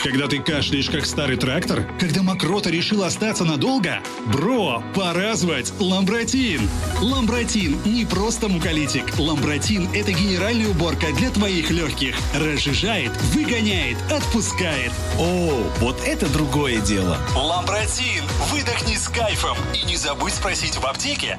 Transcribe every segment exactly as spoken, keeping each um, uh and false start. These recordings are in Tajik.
Когда ты кашляешь, как старый трактор? Когда мокрота решила остаться надолго? Бро, пора звать Ламбратин! Ламбратин не просто муколитик. Ламбратин – это генеральная уборка для твоих легких. Разжижает, выгоняет, отпускает. О, вот это другое дело! Ламбратин! Выдохни с кайфом! И не забудь спросить в аптеке.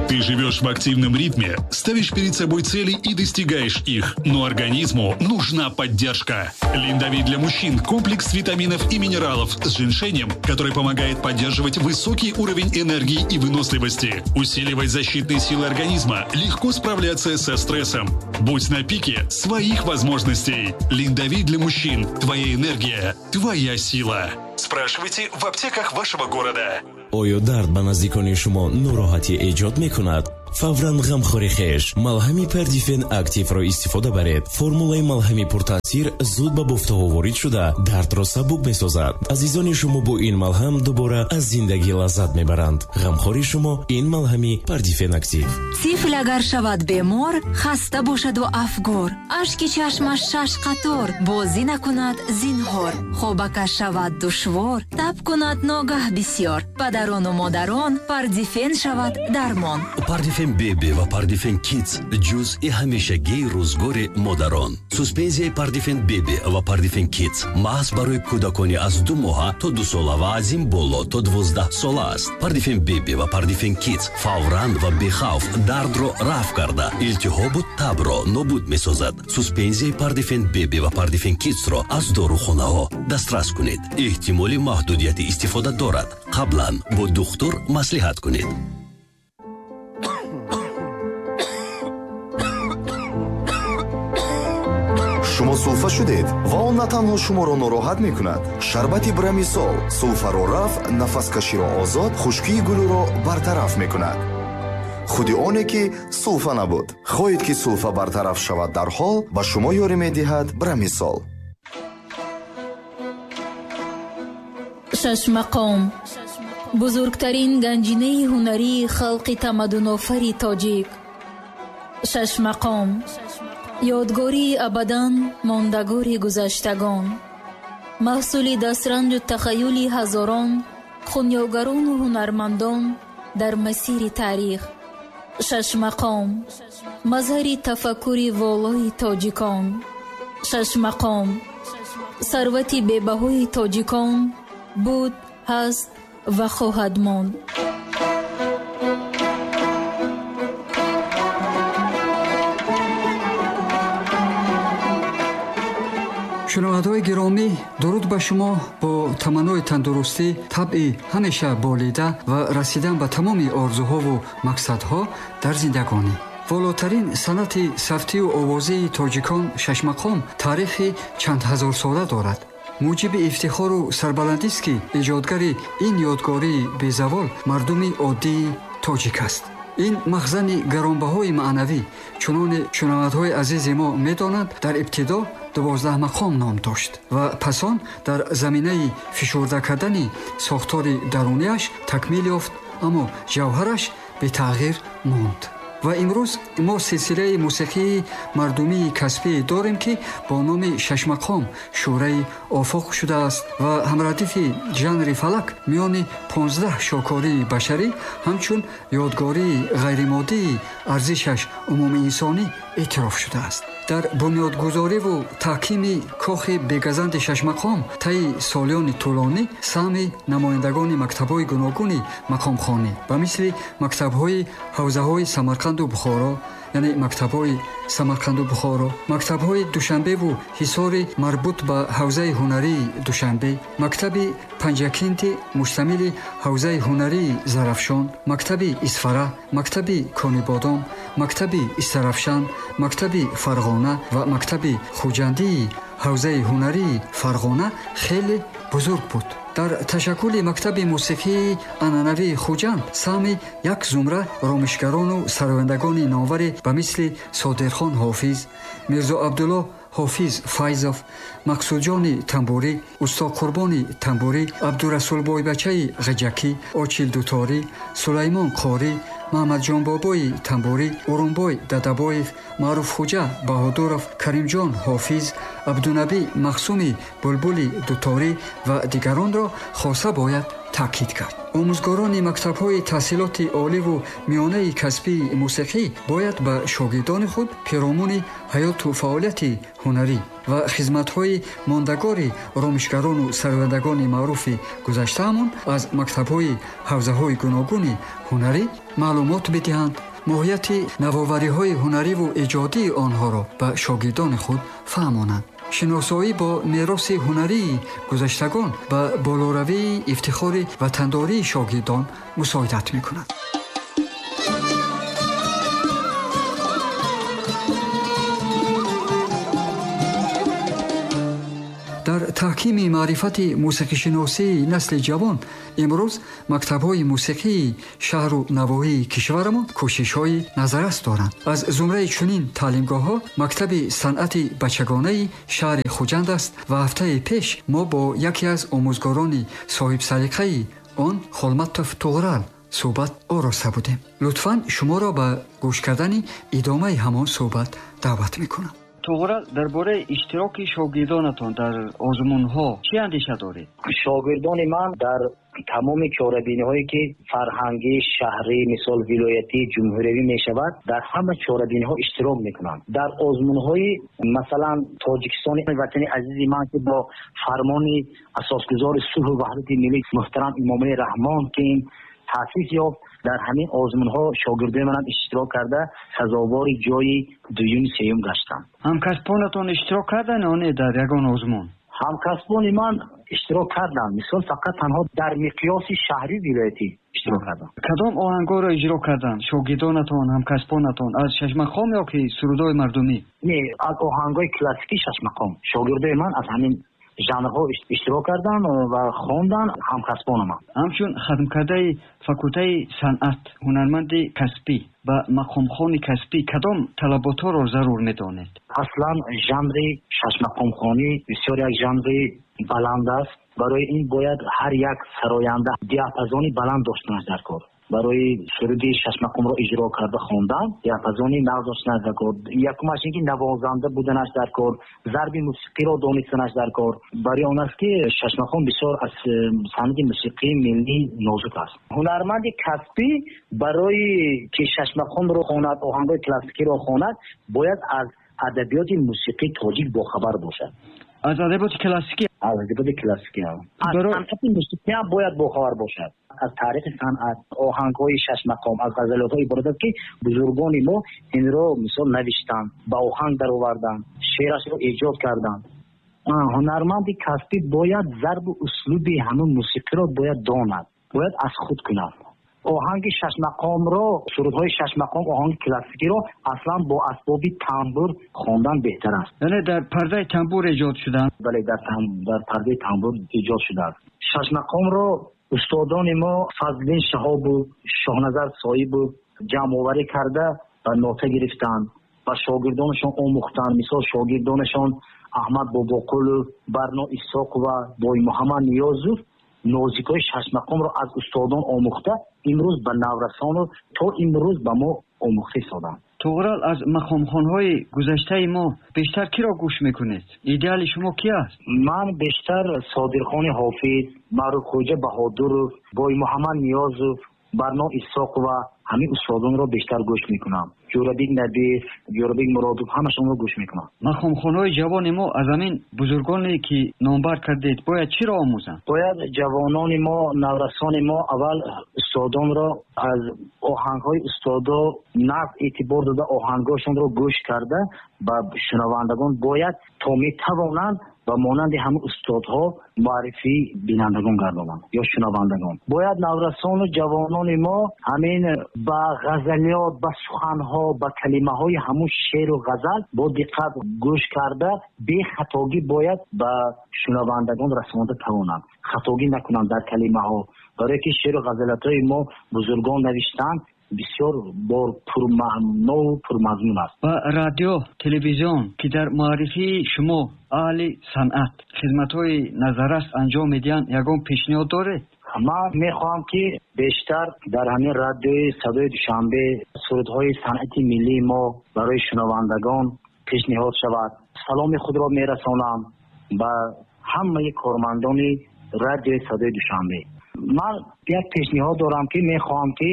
Ты живешь в активном ритме, ставишь перед собой цели и достигаешь их. Но организму нужна поддержка. Линдовит для мужчин – комплекс витаминов и минералов с женьшенем, который помогает поддерживать высокий уровень энергии и выносливости, усиливать защитные силы организма, легко справляться со стрессом. Будь на пике своих возможностей. Линдовит для мужчин – твоя энергия, твоя сила. Спрашивайте в аптеках вашего города. Оё дард ба наздикони шумо нороҳатӣ эҷод мекунад? Фавран ғамхори хеш малҳами Пардифен Активро истифода баред. Формулаи малҳами пуртаъсир зуд ба бофтаҳо ворид шуда, дардро сабук месозад. Азизони шумо бо ин малҳам дубора аз зиндагӣ лаззат мебаранд. Ғамхори шумо ин малҳами Пардифен Актив. Тифл агар шавад бемор, хаста бошаду афгор, ашки чашмаш шаш қатор, бозӣ накунад зинҳор, хобакаш шавад душвор, таб кунад ногаҳ бисёр. Падарону модарон Пардифен шавад дармон. Пардифен Беби ва Пардифен Кидс ҷузъи ҳамешагии рӯзгори модарон. Суспензияи Пардифен Беби ва Пардифен Кидс маҳз барои кӯдакони аз ду моҳа то ду сола ва аз ин боло то дувоздаҳ сола аст. Пардифен Беби ва Пардифен Кидс фавран ва бехавф дардро рафъ карда, илтиҳобу табро нобуд месозад. Суспензияи Пардифен Беби ва Пардифен Кидсро аз дорухонаҳо дастрас кунед. Эҳтимоли маҳдудияти истифода дорад. Қаблан бо духтур маслиҳат кунед. Шумо сулфа шудед ва он на танҳо шуморо нороҳат мекунад. Шарбати Брамисол сулфаро рафъ, нафаскаширо озод, хушкии гулӯро бартараф мекунад. Худи оне ки сулфа набуд. Хоҳед ки сулфа бартараф шавад дар ҳол, ба шумо ёрӣ медиҳад Брамисол. Шашмақом бузургтарин ганҷинаи ҳунарии халқи тамаддунофари тоҷик. Шашмақом ёдгории абадан мондагори гузаштагон, маҳсули дастранҷу тахаюли ҳазорон хунёгарону ҳунармандон дар масири таърих. Шашмақом мазҳари тафаккури волои тоҷикон. Шашмақом сарвати бебаҳои тоҷикон буд, ҳаст ва хоҳад монд. Шунавандаҳои гиромӣ, дуруд ба шумо бо таманнои тандурустӣ, табъи ҳамеша болида ва расидан ба тамоми орзуҳову мақсадҳо дар зиндагонӣ. Волотарин санъати савтию овозии тоҷикон шашмақом таърихи чанд ҳазорсола дорад. Муҷиби ифтихору сарбаландист, ки эҷодгари ин ёдгории безавол мардуми оддии тоҷик аст. Ин махзани гаронбаҳои маънавӣ, чуноне шунавандаҳои азизи мо медонанд, дар ибтидо дувоздаҳ мақом ном дошт ва пас он дар заминаи фишурда кардани сохтори даруниаш такмил ёфт, аммо ҷавҳараш бетағйир монд. Ва имрӯз мо силсилаи мусиқии мардумии касбӣ дорем, ки бо номи шашмақом шӯраи офоқ шудааст ва ҳамрадифи жанри фалак миёни понздаҳ шокории башарӣ ҳамчун ёдгории ғайримоддии арзишаш умумиинсонӣ эътироф шудааст. Дар бунёдгузориву таҳкими кохи бегазанди шашмақом таи солиёни тӯлонӣ саҳми намояндагони мактабҳои гуногуни мақомхонӣ ба мисли мактабҳои ҳавзаҳои Самарқанду Бухоро, яъне мактабҳои Самарқанду Бухоро, мактабҳои Душанбеву Ҳисори марбут ба ҳавзаи ҳунарии Душанбе, мактаби Панҷакинти муштамили ҳавзаи ҳунарии Зарафшон, мактаби Исфара, мактаби Конибодом, мактаби Истарафшан, мактаби Фарғона ва мактаби Хуҷандии ҳавзаи ҳунарии Фарғона хеле бузург буд. Дар ташаккули мактаби мусиқии анъанавии Хуҷанд саҳми як зумра ромишгарону сарояндагони номваре ба мисли Содирхон Ҳофиз, Мирзо Абдулло Ҳофиз Файзов, Мақсудҷони Тамбурӣ, Усто Қурбони Тамбурӣ, Абдурасул Бойбачаи Ғиҷакӣ, Очил Дуторӣ, Сулаймон Қорӣ, Маҳмадҷонбобои Тамбурӣ, Урунбой Дадабоев, Маъруфхуҷа Баҳодуров, Каримҷон Ҳофиз, Абдунабӣ Махсуми Булбули Дуторӣ ва дигаронро хоса бояд таъкид кард. Омӯзгорони мактабҳои таҳсилоти оливу миёнаи касбии мусиқӣ бояд ба шогирдони худ пиромуни ҳаёту фаъолияти ҳунарӣ ва хизматҳои мондагори ромишгарону сарояндагони маъруфи гузаштаамон аз мактабҳои ҳавзаҳои гуногуни ҳунарӣ маълумот бидиҳанд, моҳияти навовариҳои ҳунариву эҷодии онҳоро ба шогирдони худ фаҳмонанд. Шиносоӣ бо мероси ҳунарии гузаштагон ба болоравии ифтихори ватандории шогирдон мусоидат мекунад. Дар таҳкими маърифати мусиқишиносии насли ҷавон имрӯз мактабҳои мусиқии шаҳру навоҳии кишварамон кӯшишҳои назаррас доранд. Аз зумраи чунин таълимгоҳҳо мактаби санъати бачагонаи шаҳри Хуҷанд аст ва ҳафтаи пеш мо бо яке аз омӯзгорони соҳибсалиқаи он Холматов Туғрал суҳбат ороста будем. Лутфан шуморо ба гӯш кардани идомаи ҳамон суҳбат даъват мекунам. Туғрал, дар бораи иштироки шогирдонатон дар озмунҳо чӣ андеша доред? Шогирдони ман дар тамоми чорабиниҳое ки фарҳангӣ, шаҳрӣ, мисол вилоятӣ, ҷумҳуриявӣ мешавад, дар ҳама чорабиниҳо иштирок мекунанд. Дар озмунҳои масалан Тоҷикистони ватани азизи ман ки бо фармони асосгузори сулҳу ваҳдати миллӣ муҳтарам Эмомалӣ Раҳмон ки ин таъсис ёфт, дар ҳамин озмунҳо шогирдони манам иштирок карда сазовори ҷои дуюм сеюм гаштанд. Ҳамкасбонатон иштирок карданд ё не дар ягон озмун? Ҳамкасбони ман иштирок карданд, мисол фақат танҳо дар миқёси шаҳрӣ вилоятӣ иштирок карданд. Кадом оҳангҳоро иҷро карданд шогирдонатон, ҳамкасбонатон? Аз шашмақом ё ки сурудҳои мардумӣ? Не, аз оҳангҳои классикии шашмақом. Шогирдои ман аз ҳамин жанрҳо иштирок карданд ва хонданд ҳамкасбони ман. Ҳамчун хатмкардаи факултаи санъат, ҳунарманди касбӣ ва мақомхони касбӣ кадом талаботҳоро зарур медонед? Аслан жанри шашмақомхонӣ бисёр як жанри баланд аст. Барои ин бояд ҳар як сароянда диапазони баланд доштанаш дар кор. Барои суруди шашмақомро иҷро карда хондан диапазони нағз доштанаш дар кор. Якумаш ин ки навозанда буданаш дар кор, зарби мусиқиро донистанаш дар кор. Барои он аст ки шашмақом бисёр аз санъати мусиқии миллӣ нозук аст. Ҳунарманди касбӣ барои ки шашмақомро хонад, оҳангҳои классикиро хонад, бояд аз адабиёти мусиқии тоҷик бохабар бошад. Аз адабиёти классикӣ? Аз адабиёти классикӣ. Аз санъати мусиқӣ ҳам бояд бохабар бошад. Аз таърихи санъат, оҳангҳои шашмақом, аз ғазалиётҳо иборат аст ки бузургони мо инро мисол навиштанд, ба оҳанг дароварданд, шеърашро эҷод карданд. Ҳунарманди касбӣ бояд зарбу услуби ҳамон мусиқиро бояд донад, бояд аз худ кунад. Оҳанги шашмақомро, сурудҳои шашмақом, оҳанги классикиро аслан бо асбоби тамбур хондан беҳтар аст. Яъне дар пардаи тамбур эҷод шуданд? Бале, дар, дар пардаи тамбур эҷод шудааст. Шашмақомро устодони мо Фазлиддин Шаҳобов, Шоҳназар Соибов ҷамъоварӣ карда ва нота гирифтанд ва шогирдонашон омӯхтанд. Мисол шогирдонашон Аҳмад Бобоқулов, Барно Исоқова, Боймуҳаммад Ниёзов нозикҳои шашмақомро аз устодон омӯхта имрӯз ба наврасону то имрӯз ба мо омӯхта истоданд. Туғрал, аз мақомхонҳои гузаштаи мо бештар киро гӯш мекунед? Идеали шумо ки аст? Ман бештар Содирхони Ҳофиз, Маъруфхуҷа Баҳодуров, Боймуҳаммад Ниёзов, Барно Исоқова, ҳамин устодонро бештар гӯш мекунам. Ҷӯрабек Набиев, Ҷӯрабек Муродов, ҳамашонро гӯш мекунам. Мақомхонҳои ҷавони мо аз ҳамин бузургоне ки номбар кардед бояд чиро омӯзанд? Бояд ҷавонони мо, наврасони мо аввал устодонро аз оҳангҳои устодо нағз эътибор дода, оҳангҳошонро гӯш карда ба шунавандагон бояд то метавонанд ба монанди ҳамин устодҳо муаррифии бинандагон гардонанд ё шунавандагон. Бояд наврасону ҷавонони мо ҳамин ба ғазалиёт, ба суханҳо, ба калимаҳои ҳамун шеъру ғазал бо диққат гӯш карда бехатогӣ бояд ба шунавандагон расонда тавонанд. Хатогӣ накунанд дар калимаҳо. Барое ки шеъру ғазалиётҳои мо бузургон навиштанд, бисёр бор пурмаънову пурмазмун аст. Ба радио, телевизион, ки дар муаррифии шумо аҳли санъат хизматҳои назаррас анҷом медиҳанд, ягон пешниҳод доред? Ман мехоҳам, ки бештар дар ҳамин радиои Садои Душанбе сурудҳои санъати миллии мо барои шунавандагон пешниҳод шавад. Саломи худро мерасонам ба ҳамаи кормандони радиои Садои Душанбе. Ман як пешниҳод дорам, ки мехоҳам, ки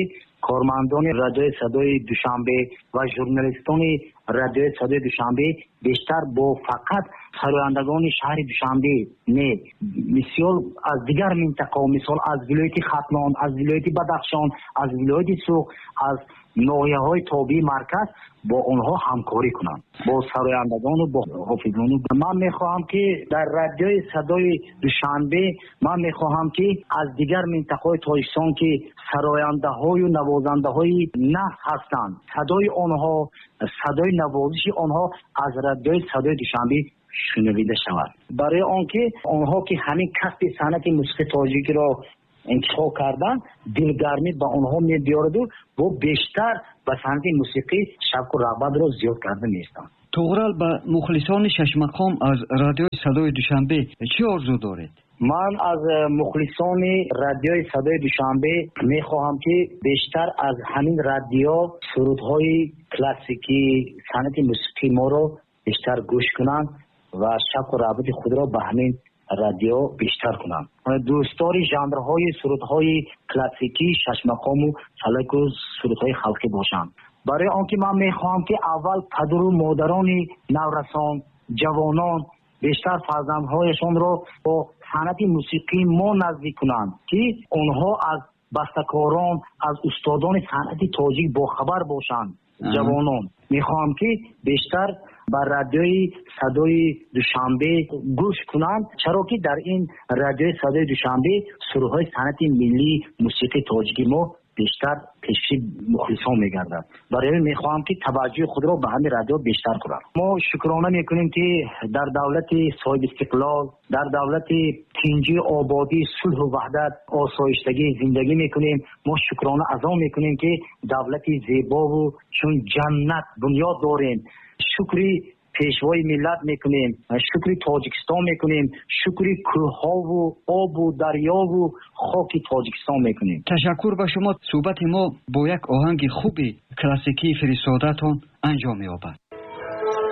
кормандони радиои Садои Душанбе ва журналистони радиои Садои Душанбе бештар бо фақат сарояндагони шаҳри Душанбе не, мисол аз дигар минтақаҳо, мисол аз вилояти Хатлон, аз вилояти Бадахшон, аз вилояти Суғд, аз ноҳияҳои тобеи марказ бо онҳо ҳамкорӣ кунанд, бо сарояндагону бо ҳофизону. Ман мехоҳам, ки дар радиои Садои Душанбе ман мехоҳам, ки аз дигар минтақаҳои Тоҷикистон, ки сарояндаҳою навозандаҳои наф ҳастанд, садои онҳо, садои навозиши онҳо аз радиои Садои Душанбе шунавида шавад. Барои он ки онҳо, ки ҳамин касби санъати мусиқии тоҷикиро интихоб кардан, дилгармӣ ба онҳо мебиёраду бо бештар ба санъати мусиқӣ шавқу рағбатро зиёд карда меистанд. Туғрал, ба мухлисони шашмақом аз радиои Садои Душанбе чӣ орзу доред? Ман аз мухлисони радиои Садои Душанбе мехоҳам, ки бештар аз ҳамин радио сурудҳои классикӣ, санъати мусиқии моро бештар гӯш кунанд ва шавқу рағбати худро ба ҳамин радио бештар кунанд. Дӯстдори жанрҳои сурудҳои классикӣ, шашмақому фалаку сурудҳои халқӣ бошанд. Барои он ки ман мехоҳам, ки аввал падару модарони наврасон, ҷавонон бештар фарзандҳояшонро бо санъати мусиқии мо наздик кунанд, ки онҳо аз бастакорон, аз устодони санъати тоҷик бохабар бошанд. Ҷавонон мехоҳам, ки бештар ба радиои Садои Душанбе гӯш кунанд, чаро ки дар ин радиои Садои Душанбе сурудҳои санъати миллии мусиқии тоҷики мо бештар пеши мухлисон мегардад. Барои ҳамин мехоҳам, ки таваҷҷӯҳи худро ба ҳамин радио бештар кунанд. Мо шукрона мекунем, ки дар давлати соҳибистиқлол, дар давлати тинҷӣ, ободӣ, сулҳу ваҳдат, осоиштагӣ зиндагӣ мекунем. Мо шукрона аз он мекунем, ки давлати зебову чун ҷаннат бунёд дорем. Шукри пешвои миллат мекунем, шукри Тоҷикистон мекунем, шукри кӯҳҳову обу дарёву хоки Тоҷикистон мекунем. Ташаккур ба шумо. Суҳбати мо бо як оҳанги хуби классикии фиристодатон анҷом меёбад.